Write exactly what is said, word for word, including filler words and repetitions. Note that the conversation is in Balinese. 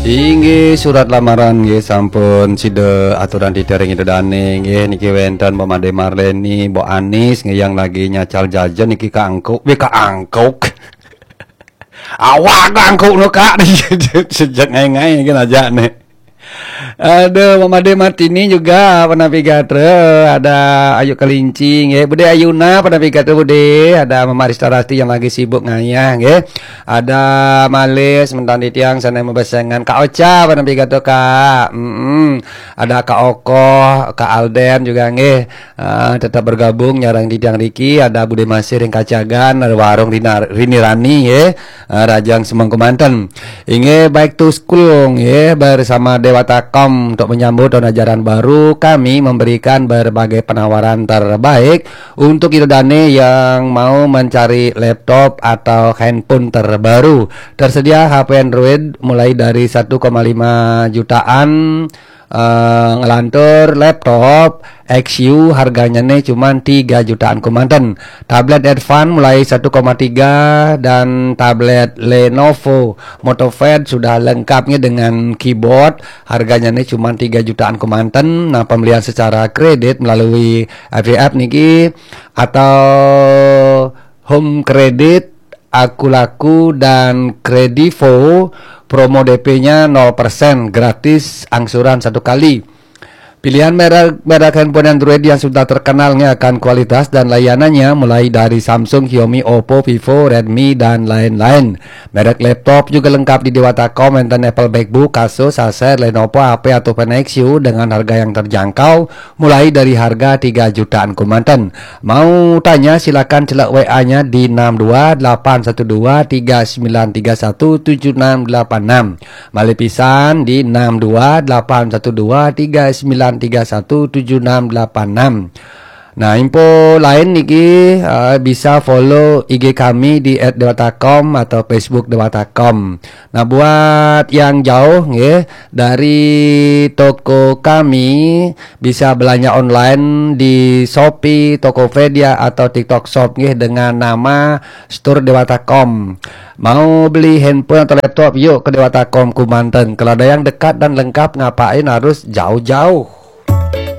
Inggih, surat lamaran nggih sampun sida aturang titiang ring Ida Dane nggih. Niki wenten Mbok Made Marleni, Mbok Anis nggih yang lagi nyacal jajan niki kaangkuk, weh kaangkuk. Awak kaangkuk no, Kak. Sejak ngai-ngai nggih ajak nih. Aduh, Mbok Made Martini juga pun napi gatra, ada Ayu Kelinci nggih. Bude Ayuna pun napi gatra, Bude, ada Mama Rista Rasti yang lagi sibuk ngayah nggih. Ada Malis, mentan titiang sana mabesengan. Kak Ocha, pada pidato, Kak. Mm-mm. Ada Kak Okoh, Kak Alden juga nggih. Ah, tetap bergabung nyarang titiang riki. Ada Bude Masih ring Kacagan, ada warung Rina, Rini Rani nggih. Ah, Rajang Semengku Manten. Inggih, back to school nggih, bersama Dewata Com untuk menyambut tahun ajaran baru, kami memberikan berbagai penawaran terbaik untuk Ida Dane yang mau mencari laptop atau handphone terbaru. Tersedia H P Android mulai dari satu koma lima jutaan, eh, ngelantur. Laptop X U harganya nih cuman tiga jutaan kemanten. Tablet Advan mulai satu koma tiga dan tablet Lenovo MotoPad sudah lengkapnya dengan keyboard. Harganya nih cuman tiga jutaan kemanten. Nah, pembelian secara kredit melalui F I F niki atau Home Credit, Aku Laku, dan Kredivo, promo D P-nya nol persen, gratis angsuran satu kali. Pilihan merek, merek handphone Android yang sudah terkenal nih akan kualitas dan layanannya, mulai dari Samsung, Xiaomi, Oppo, Vivo, Redmi, dan lain-lain. Merek laptop juga lengkap di Dewata Com, enten Apple MacBook, Asus, Acer, Lenovo, H P, atau Nexus dengan harga yang terjangkau, mulai dari harga tiga jutaan kemanten. Mau tanya, silakan celak W A-nya di enam dua delapan satu dua tiga sembilan tiga satu tujuh enam delapan enam. Malih pisan di enam dua delapan satu dua tiga sembilan tiga satu tujuh enam delapan enam. Nah, info lain niki, eh, bisa follow I G kami di at dewata com atau Facebook Dewata Com. Nah, buat yang jauh nggih, dari toko kami bisa belanja online di Shopee, Tokopedia, atau TikTok Shop nggih dengan nama Store Dewata Com. Mau beli handphone atau laptop, yuk ke Dewata Com Kumanten. Kalau ada yang dekat dan lengkap, ngapain harus jauh-jauh?